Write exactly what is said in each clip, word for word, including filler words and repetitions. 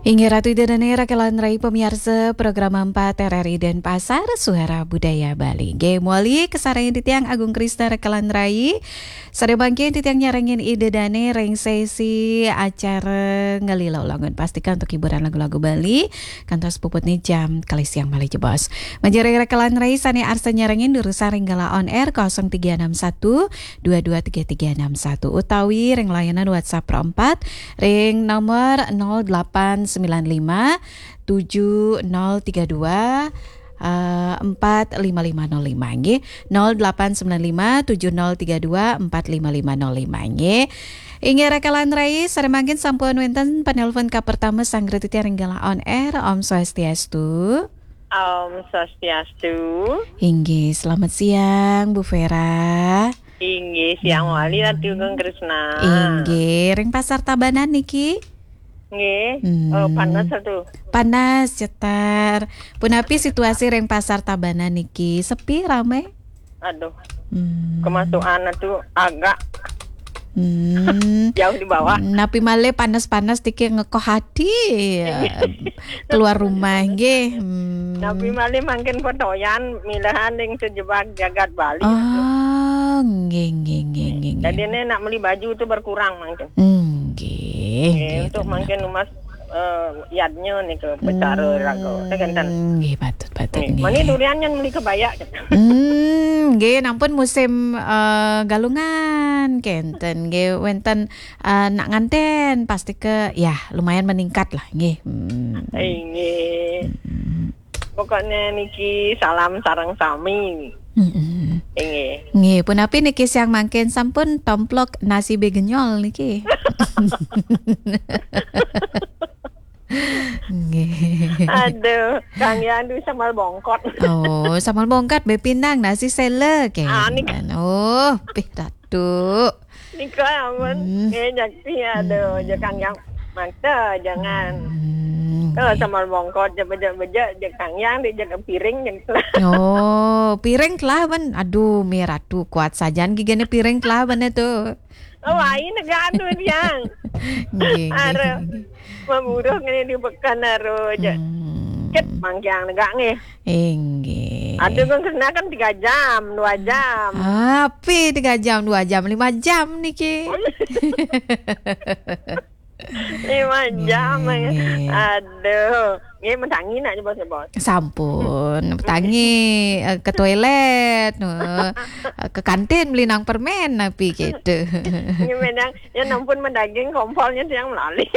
Inggih Ratu Ida Dane, Raka lan Rai, pamiarsa program empat R R I Denpasar, Suara Budaya Bali. Nggih, mawali kasarengin titiang Agung Krisna, Raka lan Rai. Sadaya mangkin titiang nyarengin Ida Dane ring sesi acara Ngelila Ulungun, pastika untuk hiburan lagu-lagu Bali, kantos puputne jam kalih siang malih jebos. Manjing ring Raka lan Rai sane arsa nyarengin, durusang ring galah on air kosong tiga enam satu dua dua tiga tiga enam satu utawi ring layanan WhatsApp Pro empat ring nomor nol delapan sembilan lima tujuh nol tiga dua, eh, empat lima lima nol lima, nggih. Nol delapan sembilan lima tujuh nol tiga dua empat lima lima nol lima, nggih. Inggih Raka lan Rai, sare mangkin sampun wenten penelpon kapertama sareng titiang ring galah on air. Om Swastiastu. Om Swastiastu. Inggih, selamat siang, Bu Vera. Inggih, siang mawali, Ratu Agung Krisna. Inggih, ring Pasar Tabanan niki? Nggih. Hmm. Oh, panas, Ratu. Panas, cetar. Punapi situasi ring Pasar Tabanan niki? Sepi, rame? Aduh. Hmm. Kemasukan, Ratu, agak. Hmm. Jauh di bawah. Napi malih panas-panas niki ngekoh ati, keluar rumah, nggih. Hmm. Napi malih mangkin pedoyan, milahan ring sejebag jagat Bali. Oh, nggih, nggih, nggih, nggih, nggih. Dadine nak meli baju tu berkurang mangkin. Nggih, nggih, untuk mangkin umas, eh, yadnya nika becara raga. Nggih, patut, patut, nggih. Mani durian nyen meli kebaya. Hmm, nggih, nampun musim, eh, galungan, kenten. Nggih, wenten, eh, nak nganten, pastika, ya, lumayan meningkat lah, nggih. Hmm. Inggih. Hmm. Pokoknya niki salam sareng sami. Mm-mm. Inggih. Nggih, punapi niki siang mangkin sampun tomplok nasi begenyol niki? Nggih. Aduh, Kang Yandu sambal bongkot. Oh, sambal bongkot be pindang nasi sela, nggih. Ah, niki. Oh, pih Ratu. Nika amun, hmm, eh, jakti, aduh, hmm, ja Kang Yang mata, jangan. Hmm, oh, nggih. Sambal bongkot, ja bejek-bejek, ja Kang Yang, di ja piring, ja. Oh, piring telah, ben. Aduh, Mi Ratu, kuat sajan gigine piring telah, ben, itu. Oh, lain negara tu, Yang. Nggih, nggih, aduh, nggih. Maburuh ngene di beken, aduh, ja. Hmm. Ket mangkiang negak, nggih. Inggih. Aduh, kan kena kan tiga jam, dua jam. Api tiga jam, dua jam, lima jam niki. Lima jam, nggih, ya. Nggih. Aduh. Nggih, mentangi nak nyebos-nyebos. Sampun, mentangi, eh, ke toilet, eh, ke kantin beli nang permen, napi gitu. Nggih, menang. Ya, nampun mendaging kompolnya tiang melali.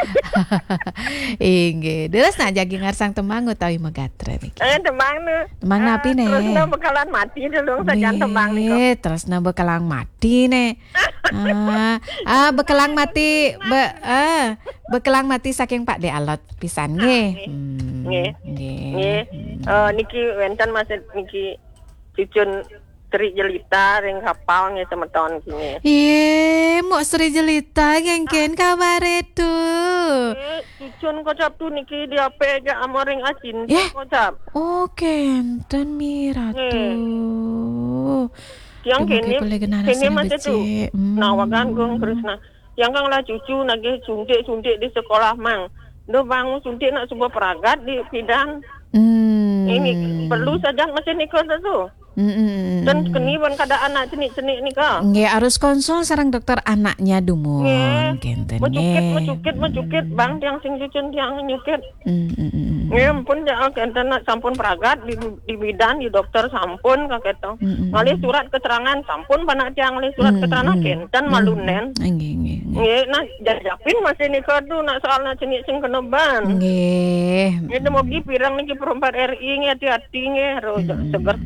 Inggih. Terus nak jagi ngarsang tembang utawi magatra niki? Eh, tembang nu. Tembang, eh, napi ne? Terus na bekalan mati dulu sajan tembang niku. Nggih, terus na bekalan mati ne. Ah, ah, bekelang mati, be, ah, bekelang mati saking Pak De Alot pisan nggih. Ah, nggih. Hmm, nggih. Nggih. Nggih. Hmm. Eh, niki wenten masih niki cucun Sri Jelita ring kapal nggih semeton nggih. Ye, Mok Sri Jelita nggih, ken kabare tu? Eh, cucun kocap tu niki di ape aja amoring asin kocap. Oh, kenten Mi Ratu. Nggih. Tiang kene, kene masih tu. Hmm. Nah, wagan Gung Krisna. Tiang kang lah cucu nagih suntik-suntik di sekolah mang. Duh, bang, suntik nak suba peragat di pidan. Hmm. Ini perlu saja masih nikah tu. Hmm, hmm, hmm. Dan keni pun kada anak cenik-cenik nikah. Nggih, harus konsul sareng dokter anaknya dumun. Nggih. Kenten, mecukit, nggih. Mecukit, mecukit, bang, tiang sing cucun tiang nyukit. Hmm, hmm, hmm, hmm. Nggih, ampun, ya, kenten nak sampun peragat di, di bidan, di dokter sampun, ka keto. Hmm, hmm, hmm. Ngalih surat keterangan sampun, panak tiang ngalih surat keterangan, hmm, kenten malu nen. Nggih, nggih, nggih. Nggih, nah, jajapin masih nikah tu, nak soal nak cenik sing kena ban. Nggih. Nggih, mogi pirang niki Pro empat R I nggih, hati-hati nggih, ro, hmm, seger.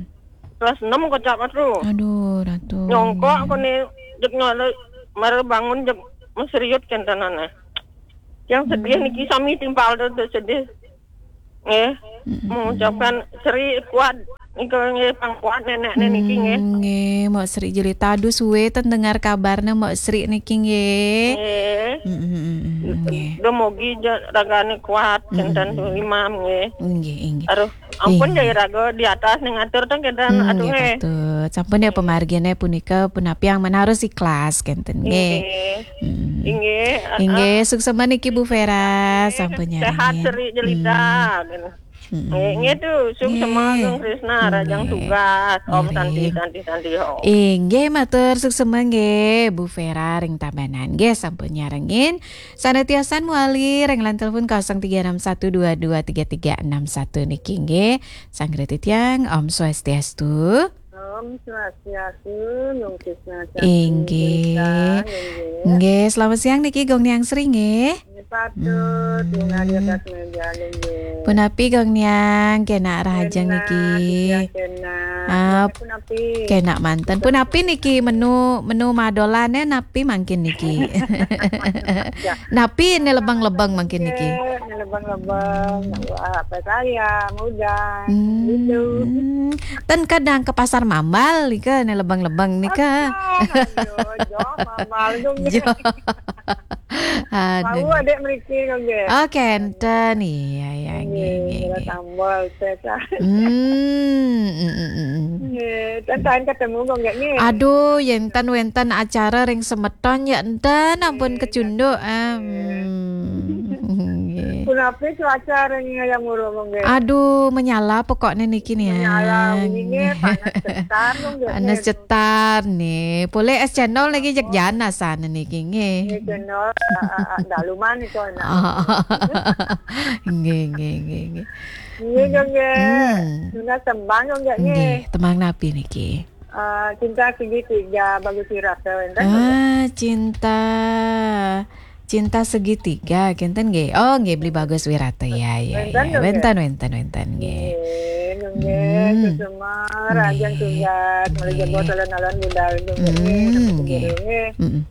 Kelas enam kocap tu. Aduh, Ratu. Nyongkok ko ni, jek nyala, mara bangun, jek meseriut kentenane. Yang sedih niki sami timpal tu, tu sedih. Nggih. Mm-mm. Mengucapkan Sri kuat, niki nggih, pang kuat nenek niki nggih. Hmm, nggih, Mak Sri Jelita. Aduh, suwe ten dengar kabarnya Mak Sri niki nggih. Nggih. Mm-mm, mm-mm, nggih. Duh, mogi je ragane kuat, kenten tu imam nggih. Nggih, nggih. Aduh. Ampun, iya, jai raga di atas ning atur teng kedan. Hmm, aduh, nggih, eh. Patut. Sampun ya, pamargine punika punapi yang menaruh ikhlas kenten nggih. Nggih. Hmm. Nggih, ah, nggih, ah. Suksema niki Bu Vera, nggih, sampun sehat nyarengin. Seri jelita. Hmm. Hmm. Nggih, nggih tuh, suksema. Nggih. Gong Krisna, hmm, rajang nggih. Tugas, Om. Nggih. Santi, santi, santi, Om. Inggih, matur suksema nggih Bu Vera ring Tabanan nggih, sampun nyarengin. Sane tiasan mawali ring line telepon kosong tiga enam satu dua dua tiga tiga enam satu niki nggih. Sanggra titiang, Om Swastiastu. Om Swastiastu, Nung Krisna Cakti. Inggih. Berita, inggih. Nggih, selamat siang niki Gong Niang Sri nggih. Nggih, patut, hmm. Nung Adi atas meja, inggih. Punapi Gong Niang, kena rahajeng niki. Kena, iya, kena. Ah, punapi. Kena manten. Punapi niki menu, menu madolane napi mangkin niki? Ya. Napi ne lebeng-lebeng mangkin niki? Nggih, ne lebeng-lebeng, wah, apa saya, udang, hmm, gitu. Ten kadang ke pasar Mambal nika ne lebeng-lebeng nika. Aduh, aduh, jo, Mambal dong. Jo. Aduh. Tahu adek mriki kok nggih. Oh, kenten. Iya, iya, nggih, nggih, nggih, nggih. Tambal, teh, tah. Hmm, mm, mm, mm. Nggih, ten tahan ketemu kok nggih, nggih. Aduh, yen ten wenten acara ring semeton ya enten ampun kecunduk. Ah, hmm. Nggih. Punapi cuaca ring Hayam Wuruk, nggih? Aduh, menyala pokokne niki nih. Menyala, wingi nggih, panas cetar, nggih. Panas cetar nih. Pole es cendol niki jeg janas ane niki, nggih. Nggih, cendol, ah, ah, ah, daluman itu enak. Nggih, nggih, nggih, nggih. Nggih, nggih. Hmm. Nunas tembang, nggih, nggih. Nggih, tembang napi niki? Ah, Cinta Segitiga, Bagus Wirata, wenten, nggih? Ah, Cinta, Cinta Segitiga, kenten nggih. Oh, nggih, Beli Bagus Wirata, ya, ya, wenten, ya. Nggih. Wenten, wenten, wenten, nggih. Nggih, nggih, hmm. Suksema, rahajeng tugas, malih jebos alon-alon budal, nggih, hmm, nggih. Nggih. Mm-mm.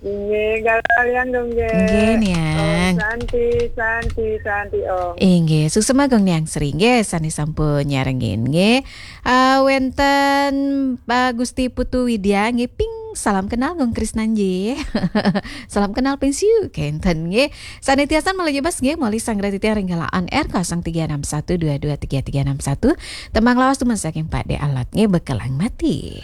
Nggih, kalian dong, nggih. Nggih, Niang. Om Santi, Santi, Santi, Om. Inggih, suksema Gong Niang Sri, nggih, sane sampun nyarengin, nggih. Ah, wenten Pak Gusti Putu Widya, nggih, ping, salam kenal Gong Krisna, nggih. Salam kenal ping siu, kenten, nggih. Sane tiasan malih jebos, nggih, malih sanggra titiang ring galah on air kosong tiga enam satu dua dua tiga tiga enam satu. Tembang lawas dumun saking Pak De Alot, nggih, Bekelang Mati.